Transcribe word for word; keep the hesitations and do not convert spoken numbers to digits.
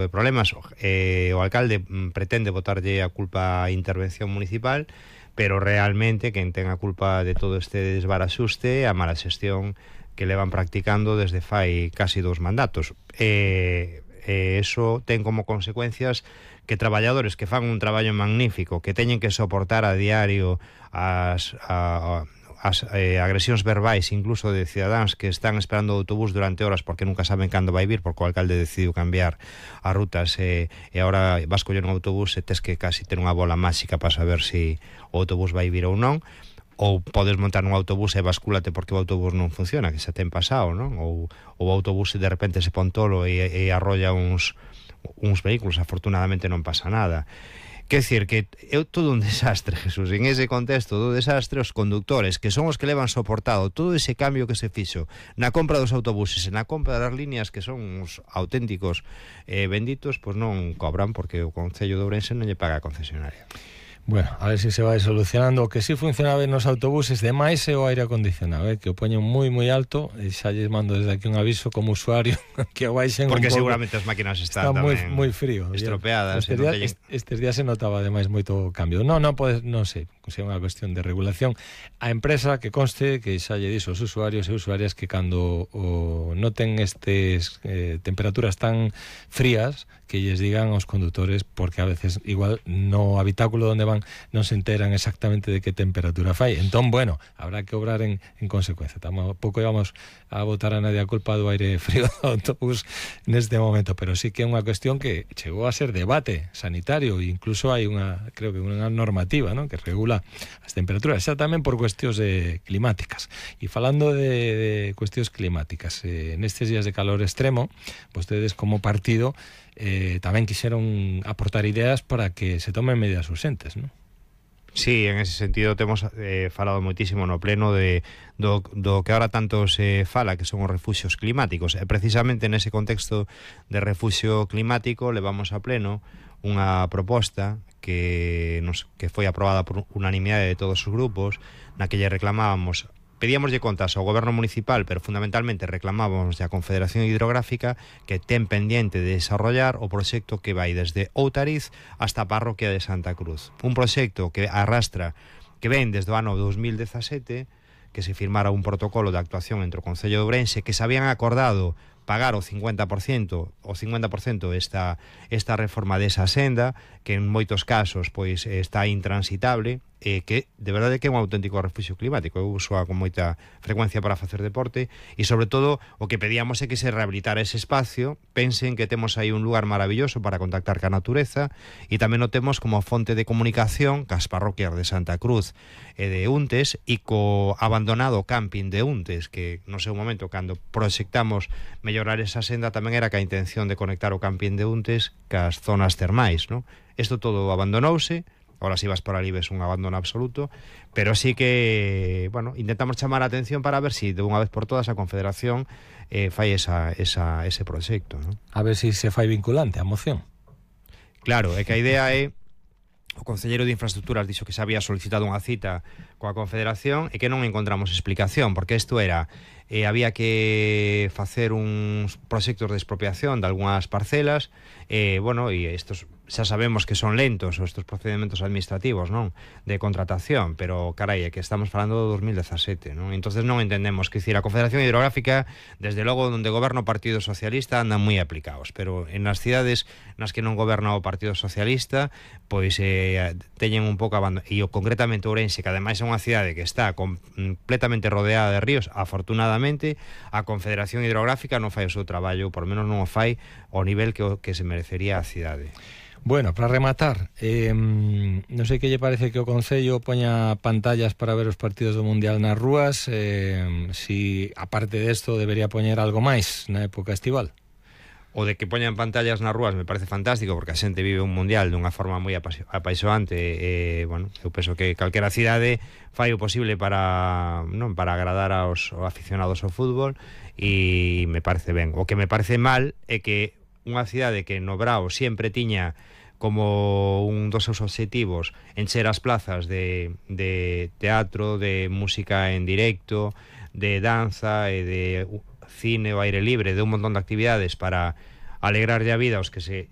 de problemas. Eh, o alcalde pretende botarlle a culpa á intervención municipal, pero realmente quen ten a culpa de todo este desbaraxuste a mala xestión que levan practicando desde fai casi dous mandatos. E eh, eso ten como consecuencias que traballadores que fan un traballo magnífico, que teñen que soportar a diario as, a, as eh, agresións verbais incluso de cidadáns que están esperando o autobús durante horas porque nunca saben cando vai vir, porque o alcalde decidiu cambiar as rutas e, e agora vas coller un autobús e tes que casi ter unha bola máxica para saber se si o autobús vai vir ou non, ou podes montar un autobús e bascúlate porque o autobús non funciona, que xa ten pasado, non? Ou o autobús de repente se pon tolo e, e arrolla uns uns vehículos, afortunadamente non pasa nada. Quer decir que é todo un desastre, Jesús. En ese contexto do desastre, os conductores, que son os que levan soportado todo ese cambio que se fixo na compra dos autobuses e na compra das líneas, que son uns auténticos eh, benditos, pois non cobran porque o Concello de Ourense non lle paga a concesionaria. Bueno, a ver se se vai solucionando. O que sí funciona ben nos autobuses de máis é o aire acondicionado, eh, que o poñen moi moi alto, e xa lles mando desde aquí un aviso como usuario que o baixen un pouco. Porque seguramente as máquinas están está tamén moi moi frío, estropeadas. Estes, no días, estes días se notaba ademais moito cambio. Non, non pode, non sei, se é unha cuestión de regulación. A empresa que conste que xa lle dixo aos usuarios e usuarias que cando o noten estes eh, temperaturas tan frías, que lles digan aos condutores, porque a veces igual no habitáculo onde van non se enteran exactamente de que temperatura fai. Entón, bueno, habrá que obrar en, en consecuencia. Tampouco íbamos a botar a nadie a culpa do aire frío do autobús neste momento, pero sí que é unha cuestión que chegou a ser debate sanitario, e incluso hai unha, creo que unha normativa, ¿no?, que regula as temperaturas, xa tamén por cuestións de climáticas. E falando de, de cuestións climáticas, eh, nestes días de calor extremo, vostedes como partido eh, tamén quixeron aportar ideas para que se tomen medidas urxentes, ¿no? Sí, en ese sentido temos eh, falado moitísimo no pleno de do, do que ahora tanto se fala, que son os refuxios climáticos, e precisamente nese contexto de refuxio climático levamos a pleno unha proposta que nos que foi aprobada por unanimidade de todos os grupos, na que lle reclamábamos, pedíamoslle contas ao goberno municipal, pero fundamentalmente reclamábamos a Confederación Hidrográfica que ten pendiente de desarrollar o proxecto que vai desde Outariz hasta a parroquia de Santa Cruz. Un proxecto que arrastra, que ven desde o ano dos mil dezasete, que se firmara un protocolo de actuación entre o Concello de Ourense, que se habían acordado pagar o cincuenta por ciento o cincuenta por ciento esta, esta reforma desa senda, que en moitos casos pois está intransitable, e que de verdade que é un auténtico refuxio climático. Eu uso con moita frecuencia para facer deporte, e sobre todo o que pedíamos é que se rehabilitara ese espacio. Pensen que temos aí un lugar maravilloso para contactar ca natureza, e tamén o temos como fonte de comunicación cas parroquias de Santa Cruz e de Untes, e co abandonado camping de Untes, que no seu momento cando proxectamos mellorar esa senda tamén era ca intención de conectar o camping de Untes cas zonas termais, ¿no? Isto todo abandonouse. Ahora si vas por ali ves un abandono absoluto, pero sí que, bueno, intentamos chamar a atención para ver si de unha vez por todas a Confederación eh, fai esa, esa, ese proxecto, ¿no? A ver si se fai vinculante a moción. Claro, é que a idea é, o concelleiro de Infraestructuras dixo que se había solicitado unha cita coa Confederación e que non encontramos explicación, porque isto era, eh, había que facer uns proxectos de expropiación de algunhas parcelas, e, eh, bueno, e estos xa sabemos que son lentos estes procedimentos administrativos, non, de contratación, pero carai, é que estamos falando do dos mil dezasete, non? Entonces non entendemos, que dicir, a Confederación Hidrográfica, desde logo onde goberna o Partido Socialista, andan moi aplicados, pero en as cidades nas que non goberna o Partido Socialista, pois eh, teñen un pouco abandono, e o concretamente Ourense, que ademais é unha cidade que está completamente rodeada de ríos, afortunadamente a Confederación Hidrográfica non fai o seu traballo, por menos non o fai ao nivel que, que se merecería a cidade. Bueno, para rematar, eh, non sei que lle parece que o Concello poña pantallas para ver os partidos do Mundial nas rúas, eh, si aparte desto debería poñer algo máis na época estival. O de que poñan pantallas nas rúas me parece fantástico, porque a xente vive un mundial dunha forma moi apaixoante, e, bueno, eu penso que calquera cidade fai o posible para, non, para agradar aos aficionados ao fútbol, e me parece ben. O que me parece mal é que unha cidade que no Brao sempre tiña como un dos seus obxectivos encher as plazas de, de teatro, de música en directo, de danza e de cine ao aire libre, de un montón de actividades para alegrarlle a vida aos que se